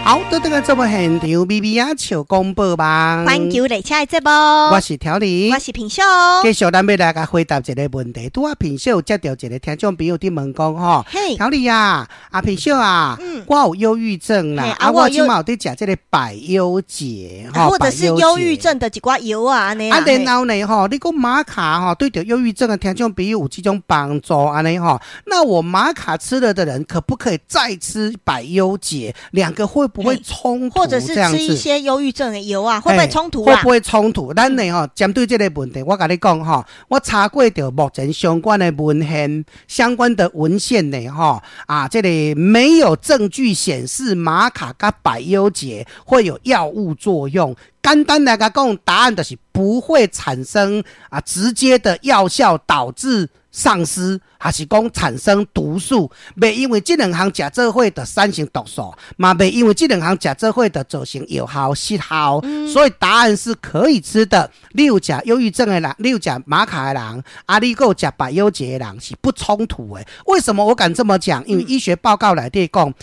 好，倒轉來節目現場，咪咪仔笑廣播網，環球列車的節目，我是調理，我是品秀。繼續咱欲來共回答一個問題。拄仔品秀接著一個聽眾朋友佇問講吼，調理啊，阿品秀啊，我有憂鬱症啦，啊，我這馬有佇食這個百憂解，或者是憂鬱症的一寡藥啊，按呢。啊，然後呢，吼，你講瑪卡吼，對著憂鬱症的聽眾朋友有這種幫助按呢吼，那我瑪卡吃了的人，可不可以再吃百憂解？兩個會不會衝突？或者是吃一些憂鬱症的藥啊，會不會衝突啊？會不會衝突？咱呢吼，針對這個問題，我共你講吼，我查過著目前相關的文獻、相關的文獻呢吼，啊，這個沒有證據顯示瑪卡佮百憂解會有藥物作用。簡單來講，答案就是不會產生啊直接的藥效導致喪失，還是講產生毒素？袂因為這兩項食做伙就產生毒素，嘛袂因為這兩項食做伙就造成藥效失效。所以答案是可以吃的。你有食憂鬱症的人，你有食瑪卡的人，啊，你閣有食百憂解的人是不衝突的。為什麼我敢這麼講？因為醫學報告內底講，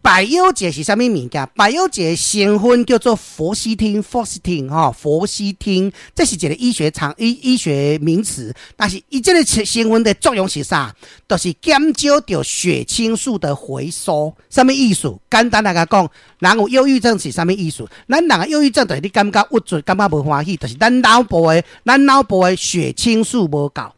百憂解是啥物物件？百憂解成分叫做氟西汀，氟西汀吼，氟西汀，這是一個醫學常醫醫學名詞。但是伊這個成分的作用是啥？就是減少著血清素的回收。啥物意思？簡單來講，人有憂鬱症是啥物意思？咱人的憂鬱症就是你感覺鬱卒，感覺無歡喜，就是咱腦部的血清素無夠，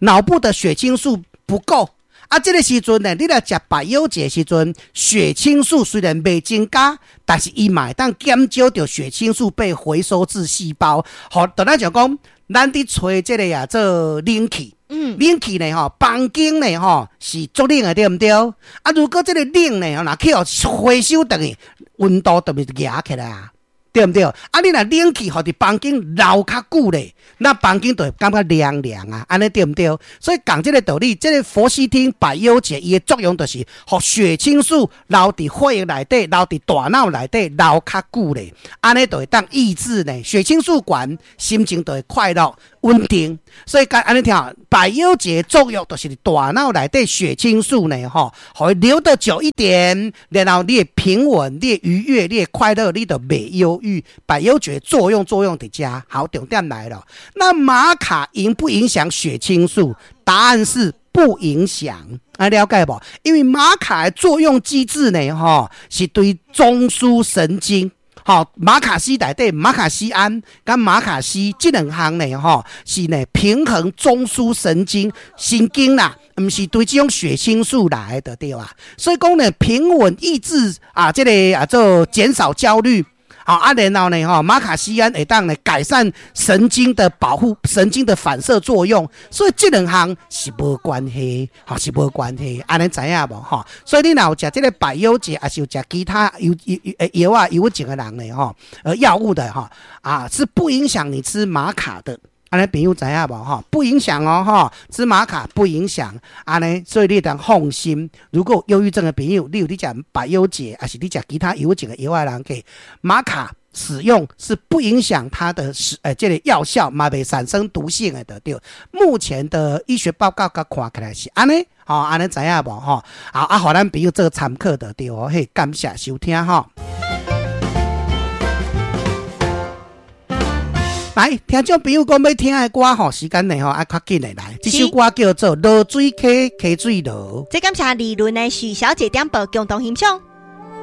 腦部的血清素不夠。啊，這個時陣呢，你來食百憂解時陣，血清素雖然袂增加，但是伊嘛會當減少著血清素被回收至細胞。好，就咱就講，咱佇吹這個啊做冷氣，冷氣呢吼，房間呢吼是足冷的，對毋對？啊，如果這個冷呢，若去予回收轉去，溫度就會夯起來啊。對毋對？啊，你若冷氣予佇房間留較久咧，那房間就會感覺涼涼啊，按呢對毋對？所以講這個道理，這個氟西汀百憂解伊的作用就是，予血清素留佇血液內底，留佇大腦內底留較久咧，按呢就會當抑制呢血清素懸，心情就會快樂穩定。所以講按呢聽，百憂解作用就是佇大腦內底血清素呢，吼，予伊留得久一點，然後你會平穩，你會愉悅，你會快樂，你就袂憂鬱。百憂解作用佇遮，好，重點來了。那瑪卡影不影響血清素？答案是不影響。啊，了解無？因為瑪卡的作用機制呢，吼，是對中樞神經。吼，瑪卡烯內底瑪卡酰胺佮瑪卡烯這兩項呢，吼，是呢平衡中樞神經神經啦，毋是對這種血清素來的對啊。所以講呢，平穩抑制啊，這個啊做減少焦慮。好啊，然後呢，吼，瑪卡酰胺會當呢改善神經的保護、神經的反射作用，所以這兩項是無關係，吼，是無關係，按呢知影無？吼，所以你若有食這個百憂解，抑是有食其他憂憂藥啊、憂鬱症的人呢，吼，藥物的吼，啊，是不影響你吃瑪卡的。按呢朋友知影無？吼，不影響哦，吼，吃瑪卡不影響，按呢，所以你會當放心。如果憂鬱症的朋友，你有佇食百憂解，抑是你食其他憂鬱症的藥的人，給瑪卡使用是不影響它的使，這個藥效，嘛袂產生毒性的，對。目前的醫學報告佮看起來是按呢，吼，按呢知影無？吼，好啊，予咱朋友做參考就對哦。嘿，感謝收聽吼。來，聽眾朋友講欲聽的歌吼，時間呢吼，啊，較緊的來，這首歌叫做《濁水溪溪水濁》。這感謝理論的許小姐點播共同欣賞。